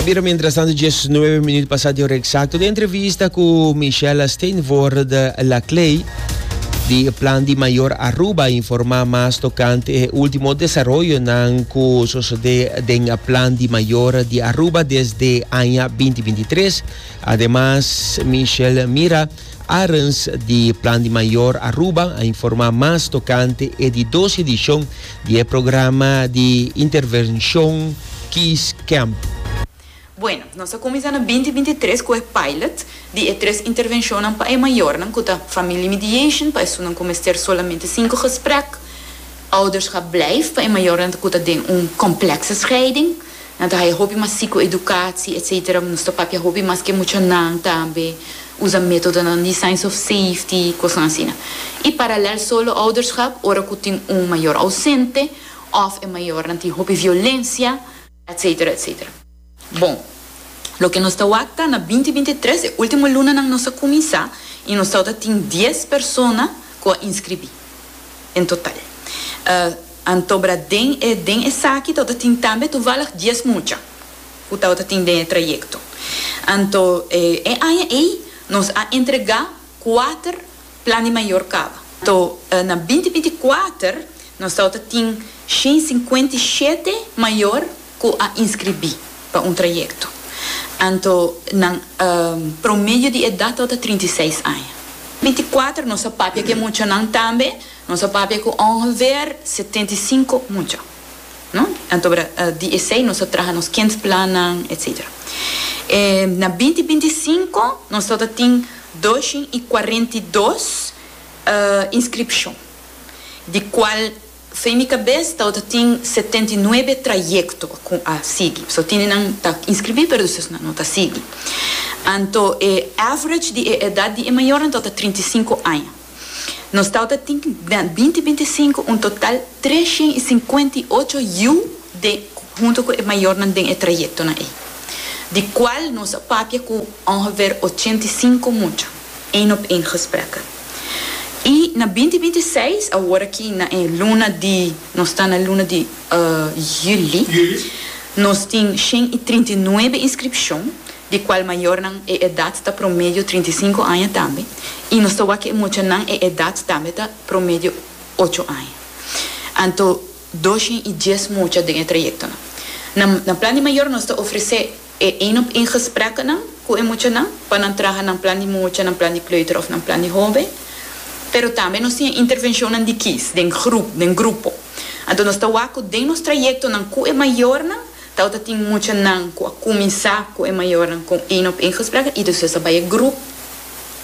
A bira mientrastanto 19 minuut pasa di ora exacto. Den entrevista cu Michelle Steenvoorde Laclay di Plan di Mayor Aruba a informa mas tocante e ultimo desaroyonan cu sosode den Plan di Mayor di Aruba desde aña 2023. Ademas Michelle Mira Arends di Plan di Mayor Aruba a informa mas tocante e di dos edicion di e programa di intervencion Kies Camp. Bueno, nos a cuminsa na binti binti tres cu e pilot di e tres intervencionnan pa e mayornan cu ta Family Mediation pa esunnan cu mester solamente cinco gesprek, Ouderschap Blijf pa e mayornan cu ta den un complexe scheiding, Nan ta haya hopi mas psicoeducatie etcetera. Nos ta papia hopi mas ke muchanan tambe, usa metodonan di signs of safety, kosnan asina. I paralel solo ouderschap ora ku tin un mayor ausente òf e mayornan tin hopi violencia etcetera etcetera. Bon, loke nos ta wak ta na binti 23 e ultimo lunanan nos a kuminsá i nos tabata tin dies persona ku a inskribí en total. Antobra den e den esaki tabata tin tambe toevallig dies mucha ku tabata tin den e trayekto. Anto e aña ei nos a entregá kuater plan di mayor kaba. Anto na binti 24 nos tabata tin 157 mayor ku a inskribí pa un trayekto. Anto nan promedio di edat tabata 36 aña. 24 nos a papia ku e muchanan tambe. Nos a papia ku ongeveer 75 mucha, no? Anto di esei nos a traha nos kindplannan, etcetera. E na binti 25 nos tabata tin 242 inskripshon, di kual fei mi kabes tabata tin 79 trayekto ku a sigui. So tin nan ta inskribí pero despues nan no ta sigui. Anto e average di e edat di e mayornan tabata 35 aña. Nos tabata tin na binti 25 un total 358 yu den hunto ku e mayornan den e trayektonan ei, di kual nos a papia ku ongeveer 85 mucha, één op één gesprekken. I na binti 26, awor aki na e luna di, nos ta na luna di juli, nos tin 139 inskripshon, di cual mayornan e edad ta promedio 35 aña tambe, y nos ta wak e muchanan e edad tambe ta promedio ocho aña. Anto 210 mucha den e trayectonan. Na na plan di mayor nos ta ofrece e een op een gesprekkennan cu e muchanan pa nan traha nan plan di mucha, nan plan di kleuter of nan plan di hoben, pero tambe nos tin e intervencionnan di kies den groep, den grupo. Anto nos ta wak cu den nos trayectonan cu e mayornan Tabata tin muchanan ku a kuminsá ku e mayornan kon één op één gesprekken i despues a bai e groep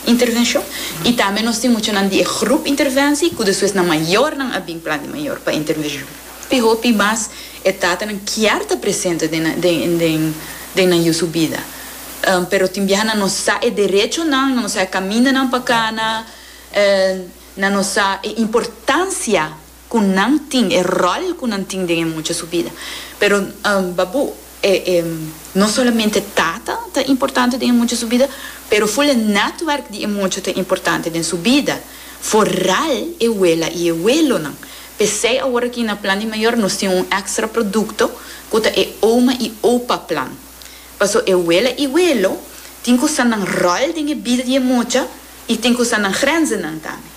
intervenshon. I tambe nos tin muchanan di e groep interventie ku despues nan mayornan a bin plan di mayor pa intervenshon. Hopi hopi mas e tatanan kier ta presente den nan den den den nan yu su bida. Pero tin biaha nan no sa e derechonan, nan no sa e kamindanan pa kana, nan no sa e importansia Ku nan tin, e ròl ku nan tin den e mucha su bida. Pero Babu, e e no solamente tata ta importante den e mucha su bida, pero ful e nètwèrk di e mucha ta importante den su bida. Foral e wela i e welonan. P'esei awor aki na Plan di Mayor nos tin un èkstra produkto ku ta e Oma i Opa Plan. Paso e wela i welo tin ku sa nan ròl den e bida di e mucha i tin ku sa nan grenzennan tambe.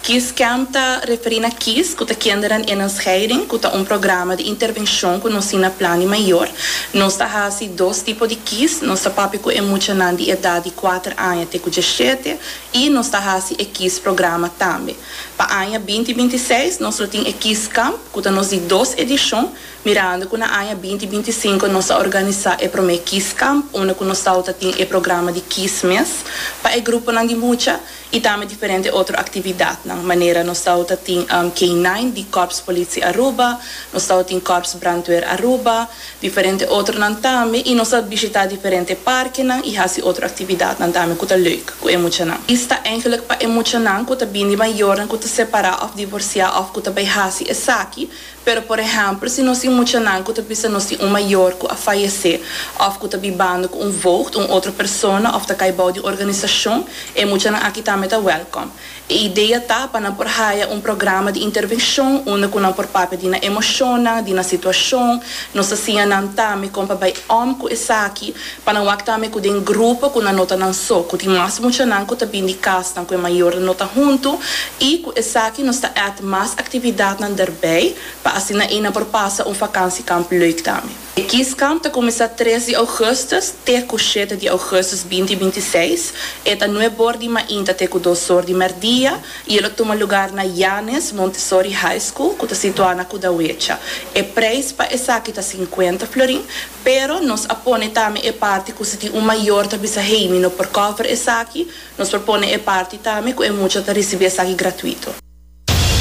Kies Camp ta referí na Kies, ku ta Kinderen in een Scheiding, ku ta un programa di intervenshon ku nos tin na Plan di Mayor. Nos ta hasi dos tipo di kies, nos ta papia ku e muchanan di edat di kuater aña te ku djeshete i nos ta hasi e Kies programa tambe. Pa aña binti 26 nos lo tin e Kies Camp, ku ta nos di dos edishon, mirando ku na aña binti 25 nos a organisá e promé Kies Camp, unda ku nos tabata tin e programa di Kies mes pa e gruponan di mucha. I tambe diferente otro aktividatnan, manera nos tabata tin K-nine di Korps Politie Aruba, nos tabata tin Korps Brandweer Aruba, diferente otronan tambe i nos a bishitá diferente parkenan i hasi otro aktividatnan tambe ku ta leuk ku e muchanan. I sta eigenlijk pa e muchanan ku ta bini mayornan ku ta separá òf divorsiá òf ku ta bai hasi esaki. Pero por ehèmpel si nos tin muchanan ku ta bisa nos tin un mayor ku a fayesé òf ku ta bibando ku un voogd, un otro persona òf ta kai bou di organisashon, e muchanan aki tambe ta wèlkòm. E idea ta pa nan por haya un programa di intervencion unda cu nan por papia di nan emocionnan, di nan situacion. Nos ta siña nan tambe con pa bay om cu esaki, pa nan wak tambe cu den grupo cu nan no ta nan so, cu tin mas muchanan cu ta bin di casnan cu e mayornan no ta hunto y cu esaki nos ta add mas actividadnan derbij pa asina ey nan por pasa un vakantiekamp leuk tambe. E Kieskamp ta kuminsá tres di ougùstùs te ku shete di ougùstùs binti 26. E ta nuebe or di mainta te ku dos or di mèrdia i e lo tuma lugar na Janes Montessori High School ku ta situá na Kudawecha. E preis pa esaki ta sinkuenta florin, pero nos a pone tambe e parti ku si tin un mayor ta bisa hey mi no por cover esaki, nos por pone e parti tambe ku e mucha ta risibí esaki gratuito.